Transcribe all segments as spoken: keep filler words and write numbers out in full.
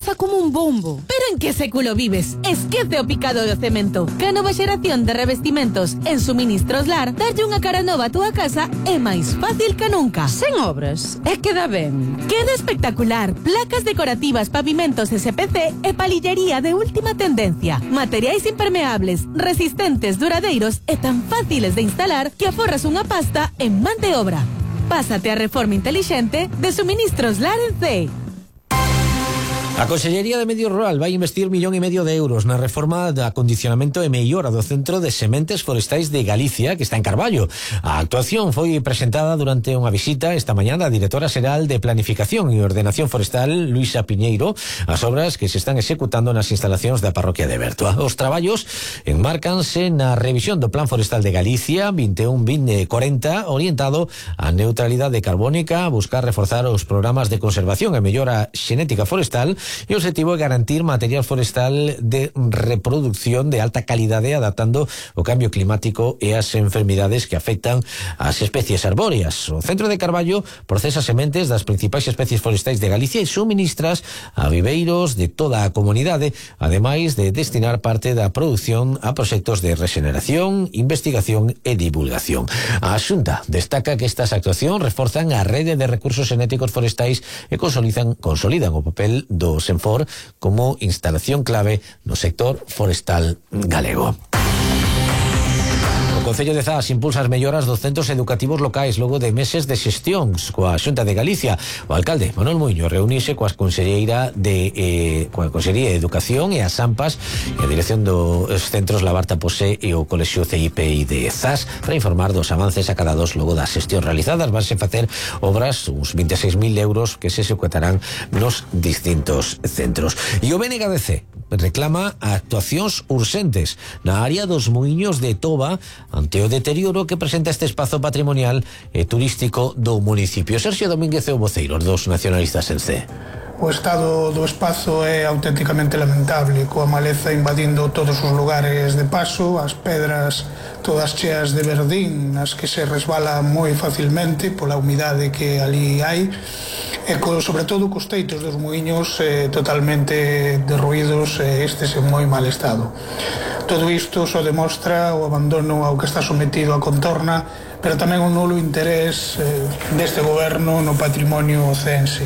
pasa como un bombo. Pero en que século vives? Esquece o picado do cemento. Que a nova xeración de revestimentos en Suministros Lar darlle unha cara nova a túa casa é máis fácil que nunca. Sen obras, e queda ben. Queda espectacular. Placas decorativas, pavimentos S P C e palillería de última tendencia. Materiais impermeables, resistentes, duradeiros e tan fáciles de instalar que aforras unha pasta en man de obra. Pásate a reforma intelixente de Suministros Lar en C. A Consellería de Medio Rural vai investir millón e medio de euros na reforma de acondicionamento e mellora do Centro de Sementes Forestais de Galicia, que está en Carballo. A actuación foi presentada durante unha visita esta mañá da directora xeral de Planificación e Ordenación Forestal, Luisa Piñeiro, as obras que se están executando nas instalacións da parroquia de Bertoa. Os traballos enmárcanse na revisión do Plan Forestal de Galicia vinte e un vinte corenta, orientado á neutralidade carbónica, a buscar reforzar os programas de conservación e mellora xenética forestal. E o objetivo é garantir material forestal de reproducción de alta calidade, adaptando o cambio climático e as enfermidades que afectan as especies arbóreas. O Centro de Carballo procesa sementes das principais especies forestais de Galicia e suministras a viveiros de toda a comunidade, ademais de destinar parte da produción a proxectos de regeneración, investigación e divulgación. A Xunta destaca que estas actuacións reforzan a rede de recursos xenéticos forestais e consolidan, consolidan o papel do Senfor como instalación clave no sector forestal galego. O Concello de Zas impulsa as melloras dos centros educativos locais logo de meses de xestións coa Xunta de Galicia. O alcalde Manuel Muiño reuniuse coas conselleira de eh, coa Consellería de Educación e as AMPAs e a dirección dos centros Labarta Posé e o Colexio C I P I de Zas para informar dos avances acadados logo das xestións realizadas. Vanse facer obras, uns vinte e seis mil euros que se executarán nos distintos centros. E o B N G D C reclama actuacións urxentes na área dos muiños de Toba ante o deterioro que presenta este espazo patrimonial e turístico do municipio. Sergio Domínguez é o voceiro dos nacionalistas en C. O estado do espazo é auténticamente lamentable, coa maleza invadindo todos os lugares de paso, as pedras todas cheas de verdín, nas que se resbala moi facilmente pola humidade que ali hai, e co, sobre todo cos teitos dos muiños eh, totalmente derruídos, e estes en moi mal estado. Todo isto só demostra o abandono ao que está sometido a contorna, pero tamén un nulo interés eh, deste goberno no patrimonio ocense.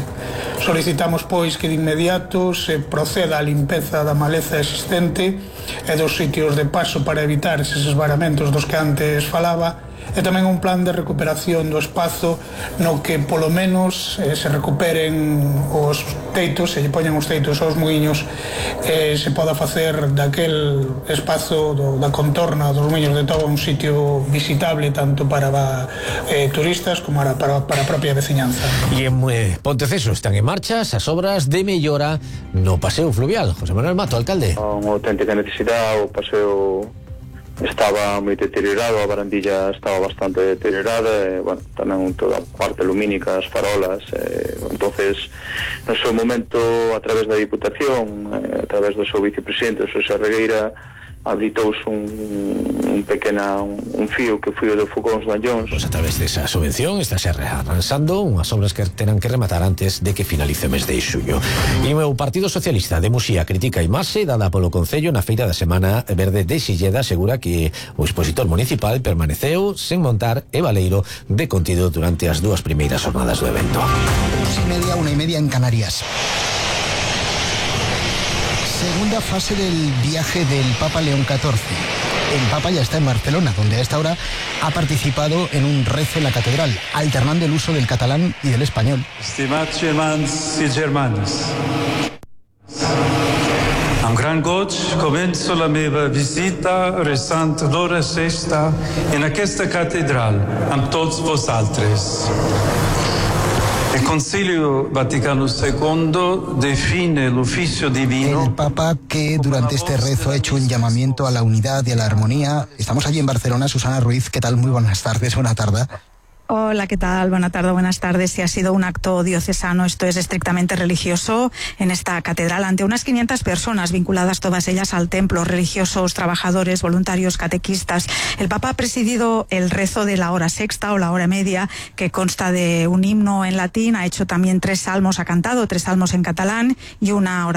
Solicitamos, pois, que de inmediato se proceda á limpeza da maleza existente e dos sitios de paso para evitar eses esvaramentos dos que antes falaba, e tamén un plan de recuperación do espazo no que polo menos eh, se recuperen os teitos, se lle poñen os teitos aos muiños, e eh, se poda facer daquel espazo do, da contorna dos muiños de Toba un sitio visitable tanto para eh, turistas como para, para, para a propia veciñanza. E en eh, Ponteceso están en marcha as obras de mellora no paseo fluvial. José Manuel Mato, alcalde. Unha auténtica necesidade, o paseo estaba moi deteriorado, a barandilla estaba bastante deteriorada, e, bueno, tamén toda a parte lumínica, as farolas, e, entonces no seu momento, a través da Diputación, e, a través do seu vicepresidente, Xosé Regueira, habilitouse un, un pequena un, un fío que foi o de Fogóns Mallóns. Pois a través desa subvención está se arransando unhas obras que terán que rematar antes de que finalice o mes de xuño. E o Partido Socialista de Muxía critica a imaxe dada polo Concello na feira da Semana Verde de Silleda, asegura que o expositor municipal permaneceu sen montar e baleiro de contido durante as dúas primeiras jornadas do evento. Dos y media, una y media en Canarias. Segunda fase del viaje del Papa León catorce. El Papa ya está en Barcelona, donde a esta hora ha participado en un rezo en la catedral, alternando el uso del catalán y del español. Estimados germans y germanes, amb gran goig començo la meva visita resant l'hora sexta en aquesta catedral amb tots vosaltres. El Concilio Vaticano segundo define el oficio divino. El Papa, que durante este rezo ha hecho un llamamiento a la unidad y a la armonía. Estamos allí en Barcelona. Susana Ruiz, ¿qué tal? Muy buenas tardes, buena tarde. Hola, ¿qué tal? Buenas tardes, buenas tardes. Si ha sido un acto diocesano, esto es estrictamente religioso, en esta catedral, ante unas quinientas personas vinculadas todas ellas al templo, religiosos, trabajadores, voluntarios, catequistas. El Papa ha presidido el rezo de la hora sexta o la hora media, que consta de un himno en latín, ha hecho también tres salmos, ha cantado tres salmos en catalán y una oración